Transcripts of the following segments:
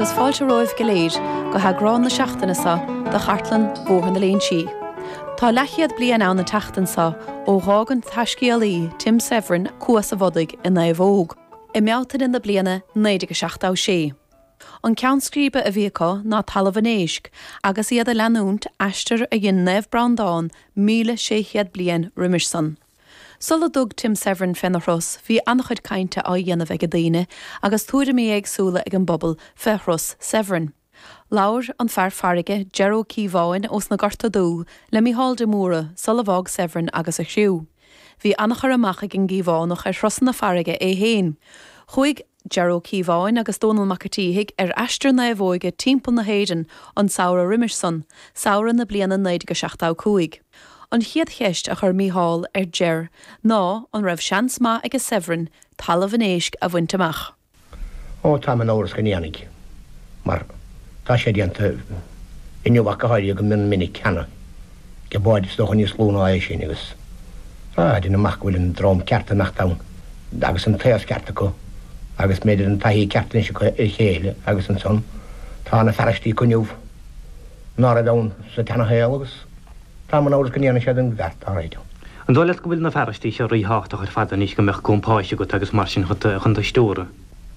agus fáilte romhaibh go léir go heagrán na seachtaine seo de Chartlann Bhóthar na Léinsí. Tá leathchéad bliain ann an tseachtain seo ó dh'fhág an taiscéalaí Tim Severin Cuas a' Bhodaigh i naomhóg i mBealtaine na bliana 1976. An ceann scríbe a bhí acu ná Talamh an Éisc agus iad ag leanúint aistear a dhein Naomh Breandán 1,600 bliain roimis san. Sula dtug Tim Severin féna thuras bhí an-chuid cainte á dhéanamh age daoine agus tuairimí éagsúla ag an bpobal fé thuras Severin. Labhair an fear farraige Ger Ó Cíobháin ós na Gorta Dubh le Mícheál de Mórdha sula bhfág Severin agus a chriú. Bhí an-chur amach ag an gCíobhánach ar thurasanna farraige é féin. Chuaigh. Ger Ó Cíobháin agus Dónall Mac a' tSíthigh ar aistear naomhóige timpeall na hÉireann an samhradh roimis san, samhradh na bliana 1975. An chéad cheist a chuir Mícheál ar Ger ná an raibh seans maith aige Severin Talamh an Éisc a bhaint amach. Ó, táim in amhras go ndéanfaidh, mar tá sé déanta inniu ach go háirithe go mion minic cheana. Ag báid is dócha níos lú ná é sin agus ah deinim amach go bhfuil an dream ceart ag imeacht ann agus an t-aos ceart acu agus b'fhéidir an taithí ceart anois acu ar a chéile agus ansan tá na fearaistí acu inniu ná raibh ann sa tseana-shaol agus táim in amhras go ndéanfaidh siad an bheart dá réir. An dóigh leat go bhfuil na fearaistí seo ríthábhachtach ar fad anois go mbeadh compáis agat agus mar sin chun do stiúradh?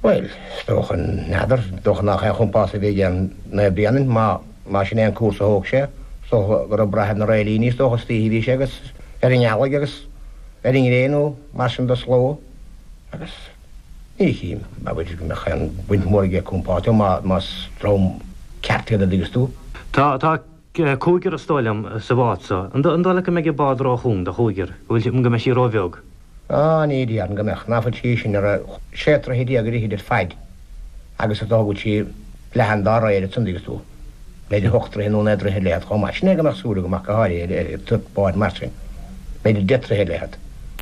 Bhuel, is dócha, n'fheadar, is dócha nach aon chompás a bhí ag Naomh Bréanainn, má, má sin é an cúrsa a thóg sé, is dócha go raibh brath ar na réilíní, is dócha, istoíche a bhí sé agus ar an ngealaigh agus ar an ngréin nó mar sin de sló agus ní chím, abair, go mbeadh aon bhaint mhór aige compás, má, más dream ceart iad a dtuigeas tú. Tá, tá cúigear is dóigh liom sa bhád so. An dóigh leat go mbeidh an bád ró-chúng do chúigear, go bhfuil, go mbeidh sí ró-bheag? Á, ní déarfainn go mbeadh, ná fuil sí sin ar sé troithe ar fhichid ar faid agus is dócha go bhfuil sí leathan dá réir ansan dtuigeas tú, b'fhéidir ocht dtroithe nó naoi dtroithe leithead chomh maith. Sin é go mbeadh súil agam ach go háirithe ar an bád mar sin, b'fhéidir 10 troithe leithead.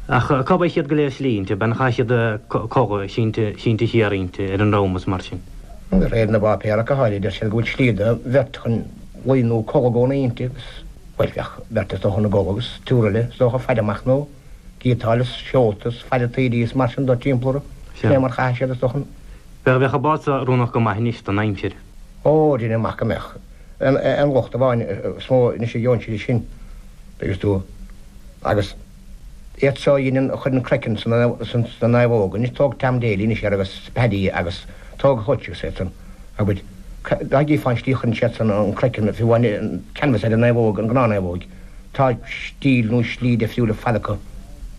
Ach cá mbeidh siad go léir slí inti, an gcaithfidh siad codladh sínte, sínte siar inti ar an ndrom is mar sin? De réir na bpáipéar ach go háirithe deir siad go bhfuil slí do bheirt chun luí nó codladh i gcónaí inti agus, bhuel, bheadh beirt is dócha ina gcodladh agus triúr eile is dócha faire amach nó giotáil is seolta is faire taoidí is mar sin de timpeall orthu. Sin é mar chaithfidh siad is dócha. Bheadh, bheadh an bád so oiriúnach go maith anois don aimsir. Ó, deinim amach go mbeadh. An locht amháin is mó anois a gheobhann siad sin, dtuigeas tú, agus iad so a dheineann, a chuireann craiceann sna naomhóga. Anois tóg Tom Daly anois air agus Paddy agus tóg Hutch agus iad san, abair, dá gcífeá an tslí a chuireann siad san an craiceann, fiú amháin an canvas ar an naomhóg, an gnáth-naomhóig. Tá stíl nó slí difriúil ar fad acu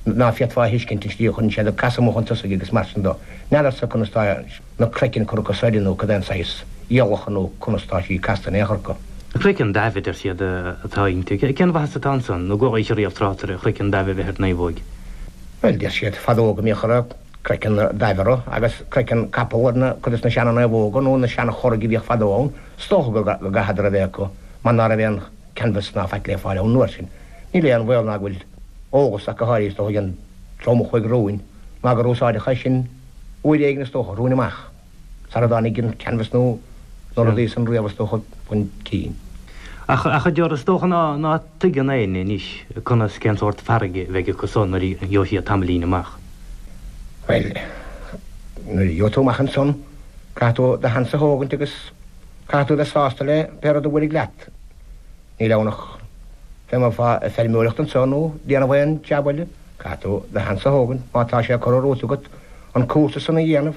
ná féadfá a thuiscint, an tslí a chuireann siad ag casadh amuigh chun tosaigh agus mar sin de. N'fheadarsa conas tá na craicinn curtha acu soir nó cad é an saghas iallach nó conas tá sí casta in aon chor acu. Craiceann daimh a deir siad atá inti. Cén mhaitheas atá ansan nó gur oíche riamh trácht ar chraiceann daimh a bheith ar naomhóig? Bhuel, deir siad fadó go mbíodh ar craiceann daimh orthu agus craiceann capall ar na cuid de na seana-naomhóga nó na seana-churaigh a bhíodh fadó ann. Is dócha go gcaitheadar a bheith acu mar ná raibh aon canvas ná faic le fáil ann an uair sin. Níl aon bhaol ná go bhfuil eolas ach go háirithe is dócha ag an dream a chuaigh romhainn ná gur úsáideadh é sin uair éigin is dócha, romhainn amach, sara dtáinig an canvas nó na rudaí san riamh is dócha chun cinn. Ach, ach a Ger, is dócha ná, ná tuigeann éinne anois conas, cén sórt farraige a bheidh acu so nuair a gheobhaidh siad tamaillín amach. Bhuel, nuair a gheobhaidh tú amach ansan, caithfidh tú do sheans a thógaint agus caithfidh tú a bheith sásta le pé rud a bhuailfidh leat. Níl ann ach fé mar atá ag feirmeoireacht anseo nó déanamh aon jab eile, caithfidh tú do sheans a thógaint, má tá sé curtha romhat agat an cúrsa san a dhéanamh,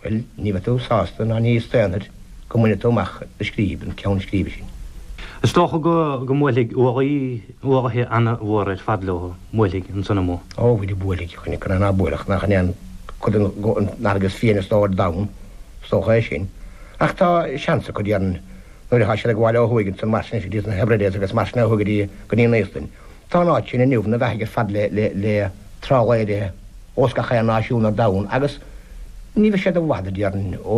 bhuel, ní bheidh tú sásta ná ní staonfair go mbainfidh tú amach do scríb, an ceann scríbe sin. Is dócha go go mbuailfidh ualaí, ualaithe ana-mhór ar fad leo, mbuailfidh, ansan amuigh. Ó, bhuel, buailfidh, chan é ná buailfeadh, nach in é an cuid den fharraige is fiáine is dóigh ar domhan, is dócha é sin. Ach tá seans acu, déarfainn, Nuair atá siad ag gabháil ó thuaidh ansan mar sin go dtí na Hebrides agus mar sin ó thuaidh go dtí go dtí an Íoslainn. Tá an áit sin inniu ina bheathaidh ar fad le le le trálaeirí ós gach aon náisiún ar domhan agus ní bheidh siad i bhfad, a déarfainn, ó.